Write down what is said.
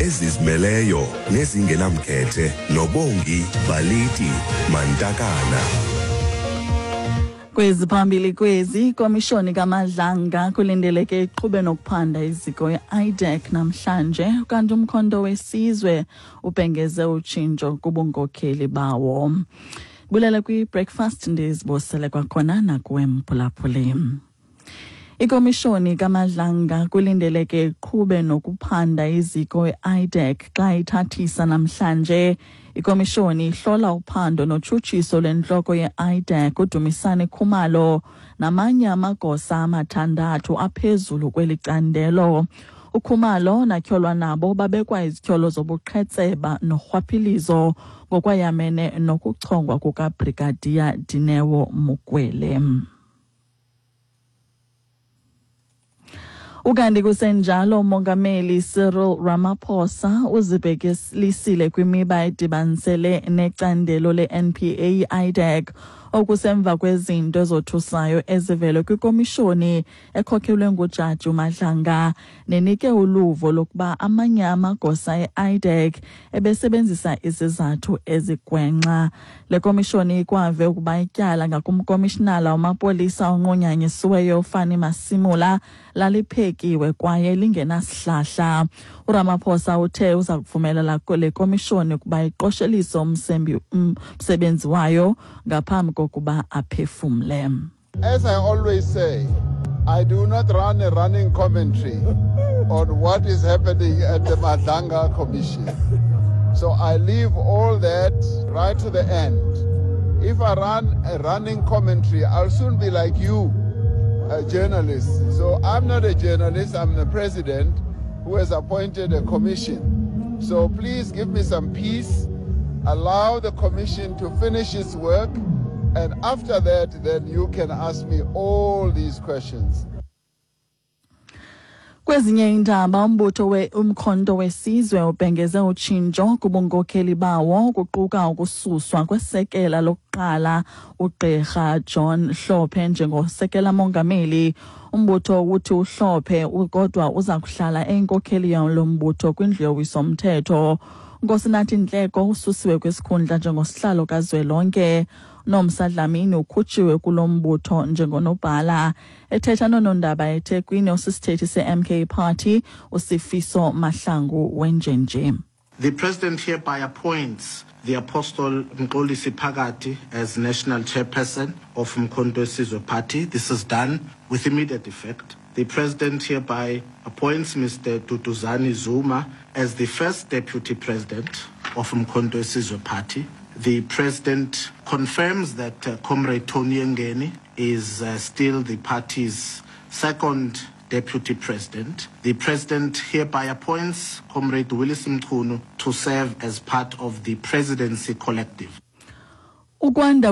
Ezizimeleyo nezingenamkhethe noBongi Baliti Mantakana. Kwezi phambili kwezi, ikomishoni kaMadlanga kulindeleke iqhube nokuphanda iziko i-IDAC namhlanje, kanti uMkhonto weSizwe ubhengeze utshintsho kubunkokheli bawo. Bulela kwi-breakfast, ndizibosele kwakhona nakuwe mphulaphuli. Ikomishoni kaMadlanga kulindeleke iqhube nokuphanda iziko i-IDAC xa ithathisa namhlanje. Ikomishoni ihlola uphando notshutshiso lwentloko ye-IDAC uDumisani Khumalo namanye amagosa amathandathu aphezulu kweli candelo. UKhumalo natyholwa nabo babekwa izityholo zobuqhetseba norhwaphilizo ngokwayamene nokuchongwa kukaBrigadiya Dineo Mokwele. Ukanti kusenjalo, uMongameli Cyril Ramaphosa uzibhekelisile kwimiba edibanisele necandelo le-NPA IDAC, okusemva kwezinto ezothusayo ezivele kwikomishoni ekhokhelwe nguJaji uMadlanga nenike uluvo lokuba amanye amagosa e-IDAC ebesebenzisa izizathu ezigwenxa. Le komishoni ikwave ukuba ityala ngakumkomishinala wamapolisa onqunyanyisiweyo uFani Masimula laliphekiwe kwaye lingenasihlahla. URamaphosa uthe uza kuvumelela le komishoni ukuba iqoshelise umsebenzi wayo ngaphambi kokuba aphefumle. As I always say, I do not run a running commentary on what is happening at the Madlanga Commission. So I leave all that right to the end. If I run a running commentary, I'll soon be like you, a journalist. So I'm not a journalist, I'm the president who has appointed a commission. So please give me some peace, allow the commission to finish its work, and after that, then you can ask me all these questions. Kwezinye iindaba, umbutho Umkhonto weSizwe ubhengeze utshintsho kubunkokheli bawo, kuquka ukususwa kwesekela lokuqala uGqirha John Hlophe njengosekela mongameli. Umbutho uthi uHlophe kodwa uza kuhlala eyinkokheli yalo mbutho kwindlu yowiso-mthetho. Nkosinathi Nhleko ususiwe kwisikhundla njengosihlalo kazwelonke. Nomsa Dlamini ukhutshiwe kulo mbutho njengonobhala. Ethetha noonondaba eThekwini, osisithethi se-MK Party uSifiso Mahlangu wenjenje. The president hereby appoints the Apostle Mxolisi Phakathi as national chairperson of Mkhonto Wesizwe Party. This is done with immediate effect. The president hereby appoints Mr. Duduzane Zuma as the first deputy president of Mkhonto Wesizwe Party. The president confirms that Comrade Tony Yengeni is still the party's second deputy president. The president hereby appoints Comrade Willis Mchunu to serve as part of the presidency collective. Ukwanda